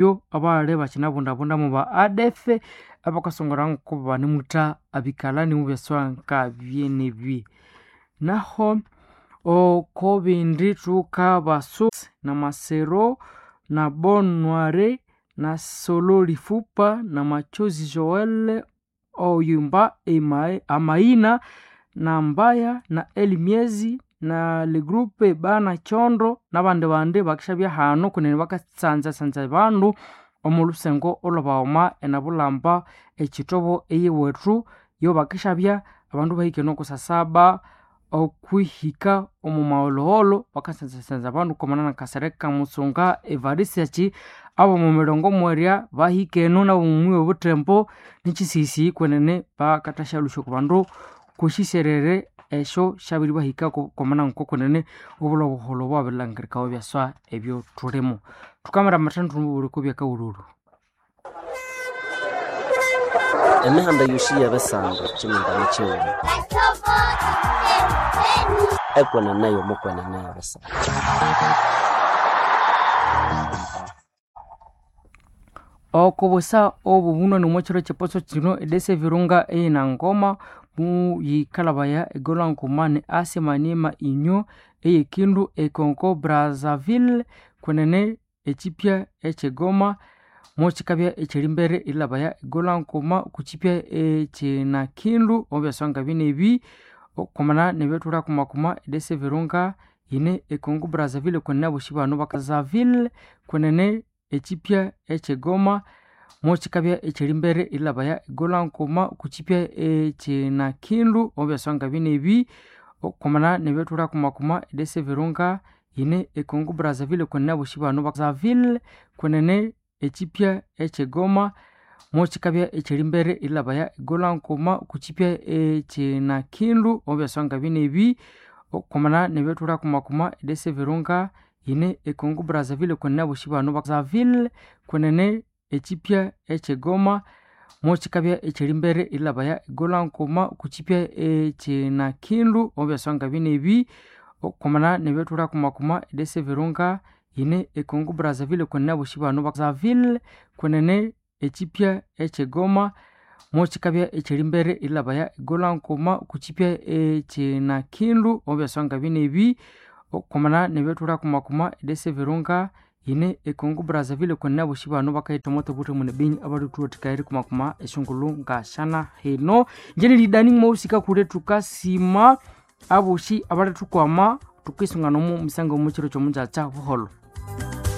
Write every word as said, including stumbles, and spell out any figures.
Yo abali bakinabundabunda mu ba A D F abakasongora nko banemutha abikalani mu byaswa nkabyenebi. Naho oko bindi thukabasu na Masero na Bonware na Solo Lifupa na Machozi Joel Oyumba Emae, Amaina na Mbaya na Elimiezi na le groupe Bana Chondo nabandi bandi bakishabya hano kunene bakatsanza-sanza bandu omu lusengo olwabaghoma enabulamba ekitobo eyiwethu yo bakishabya abandu bahike nokusasaba okwihika omu maghologholo bakatsanza-sanza abandu kwamana na Kasereka Musunga Evariste abomu mirongo mwerya bahike eno nabomu muyi obuthembo nikisisi kwenene bakathasyalusya oku bandu kwisiserere esyo syabiri bahikako kwamana ngoko kwenene obulha obuholho bwabirilhangirikawa ebyaswa ebyo thulimo. Thukamira amathandu obuliko byakawululu. Emihanda yosi y'ebisando kyimindani kyighuma ekwenene y'omukwenene y'ebisando. Okobusa obu bunani omo kiro kyeposo kino edesa ebirunga eyinangoma muyikalabaya egolwa nguma ni Asia Maniema inyo eyekindu e Congo Brazzaville kwenene ekyipya ekyegoma mukikabya ekyerimbere erilabaya egolwa nguma kukyipya ekyinakindu omu byaswa ngabinebi kwamana nebyethulha kumakuma edesa ebirunga yine e Congo Brazzaville kwenene abosi bano Brazzaville kwenene ekyipya ekyegoma mukikabya ekyerimbere erilabaya egolwa nguma kukyipya ekyinakindu omu byaswa ngabinebi kwamana nebyethulha kumakuma edesa ebirunga yine e Congo Brazzaville kwenene abosi bano Brazzaville kwenene ekyipya ekyegoma mukikabya ekyerimbere erilabaya egolwa nguma kukyipya ekyinakindu omu byaswa ngabinebi kwamana nebyethulha kumakuma edesa ebirunga yine e Congo Brazzaville kwenene abosi bano Brazzaville kwenene ekyipya ekyegoma mukikabya ekyerimbere erilabaya egolwa nguma kukyipya ekyinakindu omu byaswa ngabinebi kwamana nebyethulha kumakuma edesa ebirunga yine e Congo Brazzaville kwenene abosi bano Brazzaville kwenene ekyipya ekyegoma mukikabya ekyerimbere erilabaya egolwa nguma kukyipya ekyinakindu omu byaswa ngabinebi kwamana nebyethulha kumakuma edesa ebirunga yine e Congo Brazzaville kwenene abosi bano bakayitha omo ne Beni abalithuthuwathikaya erikumakuma esyongulhu ngashana hino. Njenelidani mwaghusika kule thukasima abosi abalithukwama thukisunga nomu misango omu kiro kyomungyakya buholho.